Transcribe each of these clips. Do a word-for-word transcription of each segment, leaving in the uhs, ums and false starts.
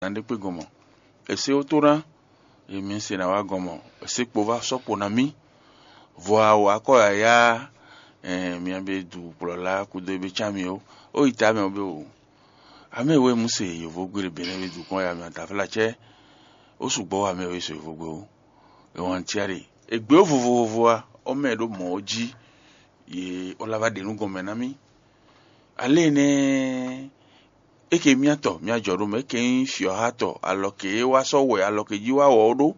zǎn ɖé kpé gɔn mɔ̌. È se wótó ná, e mi se ná wá gɔn mɔ̌, è se kpo vá sɔ́ kpo ná mì. Vɔ a wǎ kɔ yǎyá, mia be du kplɔ́la kúdó e be cá mi ó, ó yi ta mɛ ɔ́ be wǒ. Amɛ e wɛ mú se yǒvógbé ɖé Benɛ́ be dukɔn ya mɛ ataflácɛ́, ó sukpɔ́ wá mɛ e wɛ se yǒvógbé ó. È wǎn cia ɖe, è gbě ó vovovo a, ɔ́ mɛ ɖó mɔ̌ ɔ́ jí, yě ó lá vá ɖe nú gɔnmɛ ná mì. Ale énɛ́ é ke myátɔn mya jɔ ɖó mɛ, é ke nyí fyɔ̌hatɔn alɔ ke é wá sɔ́ wɛ alɔ ke jí wá wɔ ɔ́ ɖó.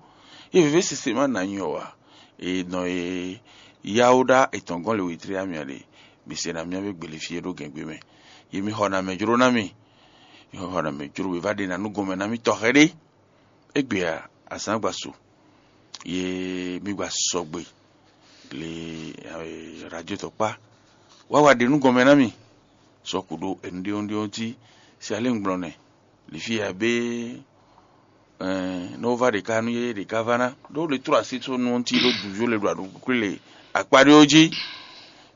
É vǐvɛ́ sese má nǎ nyi ɔ́ ǎ. È nɔ e yáwó ɖá etɔn gɔ́n le wětré amyɔ ɖe, mi se ná myá vé gbele fí e ɖó gɛ̌ngbe mɛ. Yi mi xɔ nǎ mɛ jló ná mì. Mi xɔ nǎ mɛ jló wě vá ɖe ná nú gɔnmɛ ná mì tɔxɛ ɖé. Égbé ǎ, azǎn gba su, ye mi gba sɔgbe le radio tɔkpá wá wá ɖe nú gɔnmɛ ná mì. Sɔku ɖó enu ɖéwúnɖéwún jí, se alé un gblɔ́ nɛ, lǐfí ya bé nɔ va ɖeka nú yé ɖeka va ná ɖó le tró así só nú ɔ́ cí ɖó dǔví le ɖo aɖukúkú le akpá ɖé ɔ́ jí.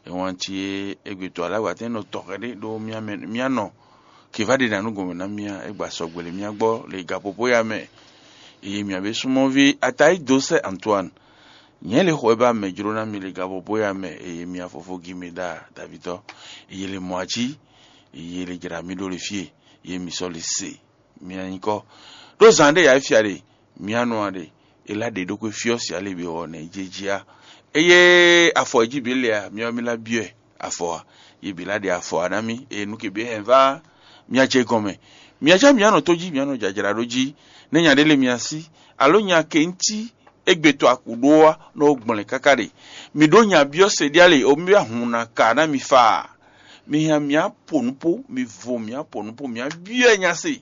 Ewɔn cí é égbé to aláwa tɛ́ nɔ tɔxɛ ɖé ɖó mía mɛ mía nɔ kè va ɖe ná nú gɔmɛ ná mía é gba sɔgbe le mía gbɔ le gapopo ya mɛ. Eye mia be súnmɔ́ví Atayi dó sɛ Antoine, nyɛ le xɔ e ba mɛ jló ná mi le gapopo ya mɛ eye mia fofó gi mi ɖa davitɔ. Eye le mɔ ají, eye le jra mi ɖó le fie, ye mi sɔ le se mia nyikɔ. Ɖó zan ɖé ya fia ɖe mia nɔ a ɖe, e lá ɖe ɖokpé fyɔ́ si ale be wɔ nɛ jé jí a. Eye afɔ e jí bǐ le a, mia mi lá byɔ́ ɛ afɔ a. Ye bǐ lá ɖe afɔ a ná mì eye nú ke bǐ hɛn vá mia jɛ gɔn mɛ. Mia já mia nɔ tó jí mia nɔ jajra ɖó jí, nɛ́ nya ɖé le mia sí, alo nya ke ŋtí égbé to akǔ ɖó wá nɔ gblɛn káká ɖe. Mi ɖó nya byɔ́ se ɖi ale o mi wá hun na ka ná mi fa a? Mi hɛn mia po nǔ po, mi vo mia po nǔ po mia byɔ́ nya se.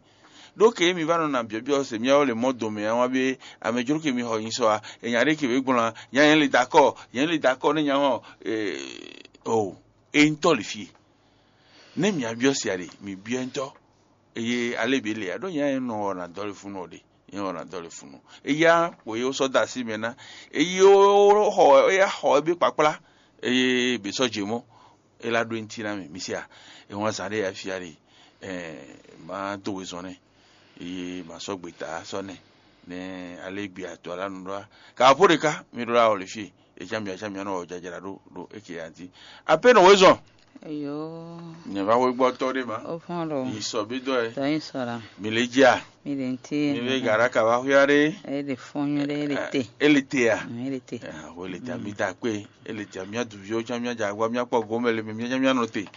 Ɖó ke mi va nɔ na byɔ̌byɔ́ se mia wɛ le mɔ dome a wá bé, amɛ jló ke mi xɔ nyi sɔ a, e nya ɖé ke wě gblɔ́n a, nya nyɛ le dakɔ, nyɛ le dakɔ ne nya hɔn o, e ŋutɔ le fie. Ne mia byɔ́ se a ɖe, mi byɔ́ ŋutɔ. Eye ale bǐ le a ɖó nya nyɛ nɔ wɔ na dɔle funu ɔ ɖe, nyɛ wɔ na dɔle funu. Eya kpo ye sɔ da asi mɛ ná, eye xɔ eya xɔ ebe kpakpla, eye bě sɔ dze mɔ. É lá ɖó ŋutí ná mì, mi se a? È wǎn zǎn ɖé ya fia ɖe, má dó wezɔn nɛ́, eye má sɔ́ gbeta sɔ́ nɛ́, nɛ́ alé gbe atɔ́ alá nu ɖó a. Ka ɔ́ ɖé ká mi ɖó lá wɔ le fí e, é cyán mi acán mi nɔ wɔ jajla ɖó ɖo é ke ǎ jí. Apé nɔ wezɔn. Eyo. Nyɛ va xwé gbɔ tɔ ɖé ma. Ó fɔn ɖo. Yi sɔ bí dɔ ɛ. Tɔ yi sɔ la. Mi lè jí a. Mi lè ŋutí. Mi lè gara ka va xwé ɖé. É lè fɔn nyuɖé é lè te. É lè te a. Mm, é lè te. Xwé lè te a mi da kpé. Ele tia mía duviwo tsã mía dza agba mía kpɔ gɔmɛ le mɛ mía tsã mía nɔ te.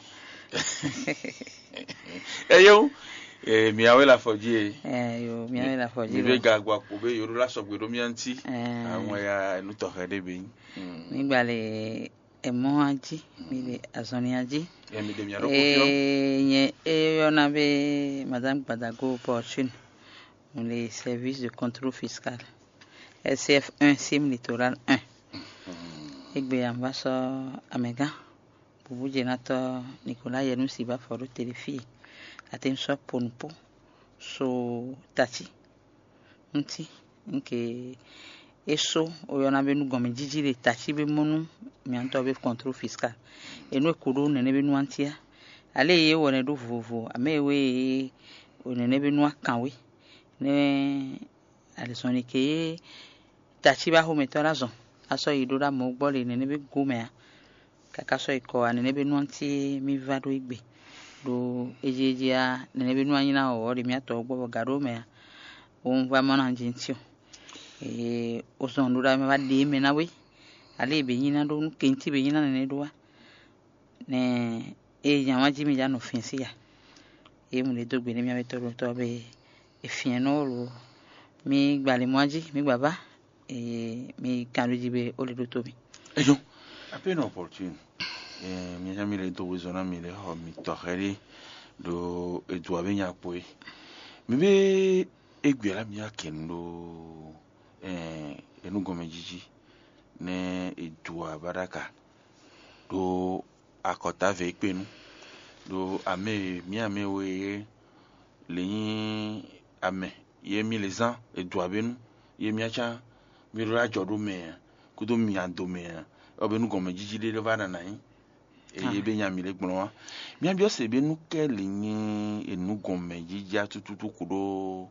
Eyo, eh, mia wɛ le afɔ dzi e. Eh, yo, mía wɛ le afɔ dzi. Mi be ga gba kpo be yoro la sɔgbe ɖo mía ŋuti. Eh. Àwọn ya nu tɔxɛ ɖe be nyi. Mi gba le emɔ adi, mi le azɔnni adi. Eh, mi de mia ɖo kofio. Eh, nye eyɔna be madame Gbadago Fortune, le service de contrôle fiscal, S F un, sim littoral un. Egbe ya un va sɔ́ amɛgán bǔbújenátɔ́ Nikola Yɛnúsi ba fɔ ɖó te ɖé fí e. Atɛ́n sɔ́ ponupó so tací ŋuti. Nke é só oyɔ́ ná be nú gɔnmɛjíjí ɖe tací be mɔ nú mǐtɔn be kɔntró fiskal. E nú è ko ɖó nɛnɛ́ be nú antíá. Alé e é wɔ nɛ ɖó vovo, amɛ e wé e nɛnɛ́ be nú akǎnwé. Nɛ́ Alizɔnlin ke e tací ba xomɛtɔ́ lɛ́ɛ azɔn, a sɔ́ yi ɖó ɖó amɔ̌ gbɔ le nɛnɛ́ be go mɛ ǎ. Káká sɔ́ yi kɔ wá nɛnɛ́ be nú ɔ́ cí mì vá ɖó égbé, ɖó ejí ejí á nɛnɛ́ be nú anyí ná wɔ̌ ɖe mì atɔ́ gbɔ bɔ gǎ ɖó mɛ ǎ. Wo un vá mɔ ná jí ntí o. Ee, o zɔn ɖó ɖa mɛ wá ɖe mɛ ná wé. Alé e bě nyí ná ɖó nú kɛntí bě nyí ná nɛnɛ́ ɖó wá. Nɛ eye nya wá jí mi já nɔ fɛ́n sí ya. Ye mu ɖe dó gbe nú mía wɛ tɔ́ɖotɔ́ be e fǐɛ́nnɔ lo mì gba le mɔ jí mì gba vá, eye mì kan ɖó jí be ó le ɖó tó mì. Eyo, ape nɔ opportune. Eh, mi nya mi le do wezɔn na mi le xɔ mi tɔxɛ ɖe ɖo edu abe nya kpo e. Mi be egbe la mi akɛnu ɖo eh, enu gɔmɛ jiji ne edu abaɖaka ɖo akɔta ve kpe nu. Ɖo ame mi ame we ye le nyi ame ye mi le zan edu abe nu ye mi atsa mi ɖo ajɔ ɖo mɛ kudo mi ado mɛ ɔbe nu gɔmɛ jiji ɖe ɖe va nana nyi. eye be nya mi le gblɔn wa. Mia biɔ se be nu kɛ li nyi enu gɔn mɛ jija tututu kuɖo